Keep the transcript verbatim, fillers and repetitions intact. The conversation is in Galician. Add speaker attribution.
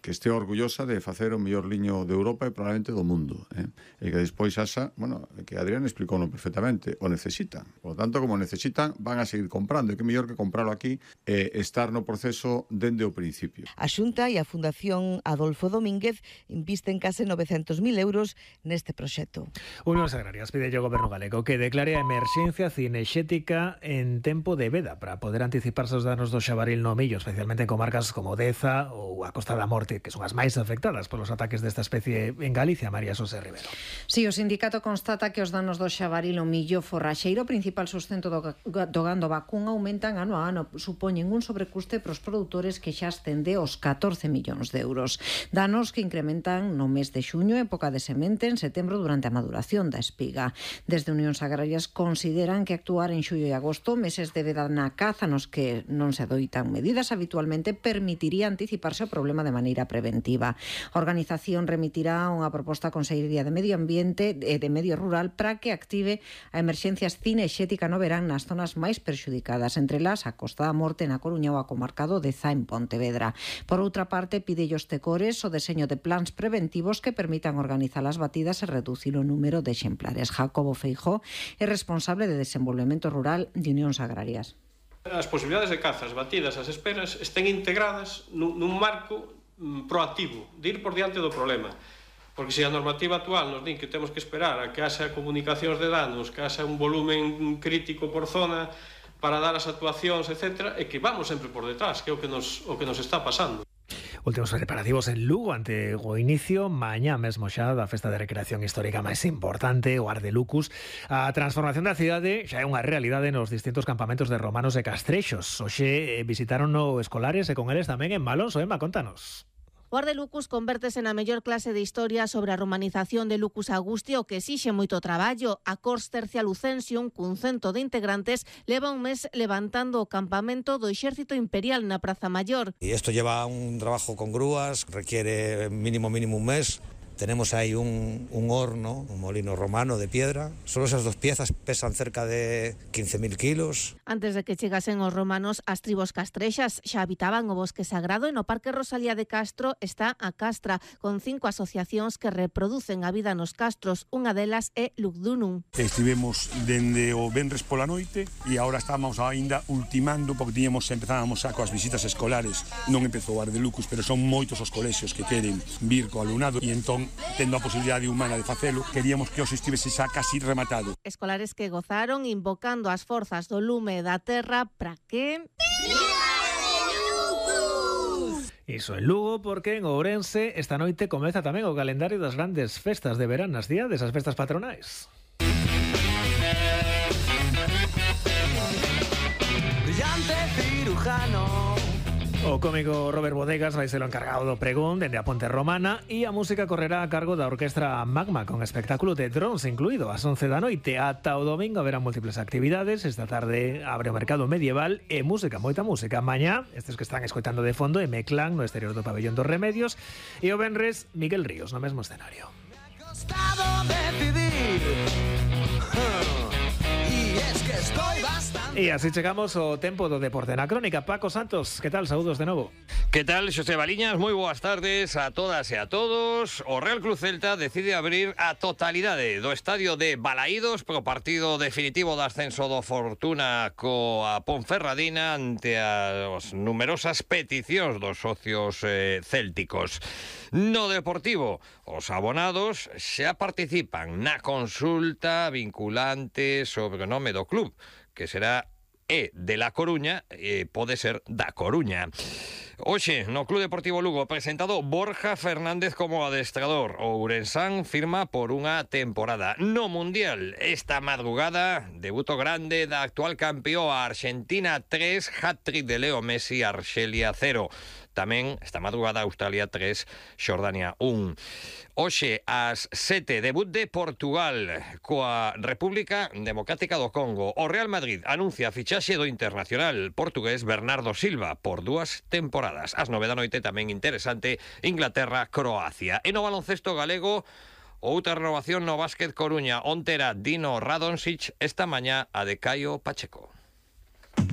Speaker 1: que este orgullosa de facer o mellor liño de Europa e probablemente do mundo, eh? E que despois asa, bueno, que Adrián explicou perfectamente, o necesitan. Por lo tanto, como necesitan, van a seguir comprando, e que mellor que comprarlo aquí e eh, estar no proceso dende o principio.
Speaker 2: A Xunta e a Fundación Adolfo Domínguez invisten case novecentos mil euros neste proxecto.
Speaker 3: Unións Agrarias pide ao Goberno galego que declare a emerxencia cinexética en tempo de veda para poder anticiparse os danos do xabaril no millo, especialmente en comarcas como Deza ou a Costa da Morte, que son as máis afectadas polos ataques desta especie en Galicia. María Xosé Rivero.
Speaker 4: Si, o sindicato constata que os danos do xabaril o millo forraxeiro, principal sustento do, do gando vacún, aumentan ano a ano, supoñen un sobrecuste para os produtores que xa ascende aos catorce millóns de euros. Danos que incrementan no mes de xuño, época de semente, en setembro durante a maduración da espiga. Desde Unións Agrarias consideran que actuar en xullo e agosto, meses de veda na caza nos que non se adoitan medidas habitualmente, permitiría anticiparse o problema de maneira preventiva. A organización remitirá unha proposta á Consellería de Medio Ambiente e de Medio Rural para que active a emerxencia cinexética no verán nas zonas máis perxudicadas, entre las a Costa da Morte na Coruña ou a comarca do Deza en Pontevedra. Por outra parte, pide aos tecores o deseño de plans preventivos que permitan organizar as batidas e reducir o número de exemplares. Jacobo Feijó é responsable de Desenvolvemento Rural de Unións Agrarias.
Speaker 5: As posibilidades de caza, as batidas, as esperas estén integradas nun, nun marco mm, proactivo, de ir por diante do problema. Porque se a normativa actual nos din que temos que esperar a que haxa comunicacións de danos, que haxa un volumen crítico por zona para dar as actuacións, etcétera, e que vamos sempre por detrás, que é o que nos, o que nos está pasando.
Speaker 3: Últimos preparativos en Lugo ante o inicio mañá mesmo xa da festa de recreación histórica máis importante, o Ardelucus. A transformación da cidade xa é unha realidade nos distintos campamentos de romanos e castrexos. Hoxe visitaron no escolares e con eles tamén en Malonso. Emma, contanos.
Speaker 6: O Ardelucus convértese na mellor clase de historia sobre a romanización de Lucus Augusti, o que exixe moito traballo. A Cors Tercia Lucensium, cun cento de integrantes, leva un mes levantando o campamento do Exército Imperial na Praza Maior.
Speaker 7: Y esto lleva un trabajo con grúas, requiere mínimo mínimo un mes. Tenemos ahí un, un horno, un molino romano de piedra. Solo esas dos piezas pesan cerca de quince mil kilos.
Speaker 6: Antes de que chegasen os romanos, as tribos castrexas xa habitaban o bosque sagrado e no Parque Rosalía de Castro está a Castra, con cinco asociacións que reproducen a vida nos castros. Unha delas é Lugdunum.
Speaker 8: Estivemos dende o venres pola noite e agora estamos aínda ultimando, porque tiñamos, empezábamos a coas visitas escolares. Non empezou o Ardelucus, pero son moitos os colexios que queren vir co alumnado e entón, tendo a posibilidade humana de facelo, queríamos que os estivese xa casi rematado.
Speaker 6: Escolares que gozaron invocando as forzas do lume e da terra para que...
Speaker 3: Iso en Lugo, porque en Ourense esta noite comeza tamén o calendario das grandes festas de verán, nas días desas festas patronais.
Speaker 9: Brillante cirujano.
Speaker 3: O cómico Robert Bodegas vai ser o encargado do pregón dende a Ponte Romana e a música correrá a cargo da Orquestra Magma con espectáculo de drons incluído ás once da noite. Ata o domingo haberá múltiples actividades. Esta tarde abre o mercado medieval e música, moita música. Mañá, estes que están escoitando de fondo, M-Clan no exterior do Pabellón dos Remedios, e o venres Miguel Ríos no mesmo escenario.
Speaker 9: Me ha costado decidir. Y es que estoy bastante.
Speaker 3: E así chegamos ao tempo do deporte na crónica. Paco Santos, que tal? Saúdos de novo.
Speaker 10: Que tal, Xosé Baliñas? Moi boas tardes a todas e a todos. O Real Cruz Celta decide abrir a totalidade do estadio de Balaídos pro partido definitivo do ascenso do Fortuna coa Ponferradina ante as numerosas peticións dos socios eh, célticos. No Deportivo, os abonados xa participan na consulta vinculante sobre o nome do club, que será E de La Coruña e pode ser da Coruña. Hoxe, no Club Deportivo Lugo, presentado Borja Fernández como adestrador. O ourensán firma por unha temporada. No Mundial, esta madrugada, debuto grande da actual campeoa Argentina tres, hat-trick de Leo Messi, Arxelia cero. Tamén, esta madrugada, Australia tres, Xordania un. Hoxe, ás sete, debut de Portugal coa República Democrática do Congo. O Real Madrid anuncia a fichaxe do internacional portugués Bernardo Silva por dúas temporadas. Ás nove da noite, tamén interesante, Inglaterra-Croacia. E no baloncesto galego, outra renovación no básquet Coruña. Onte era Dino Radončić, esta mañá a de Caio Pacheco.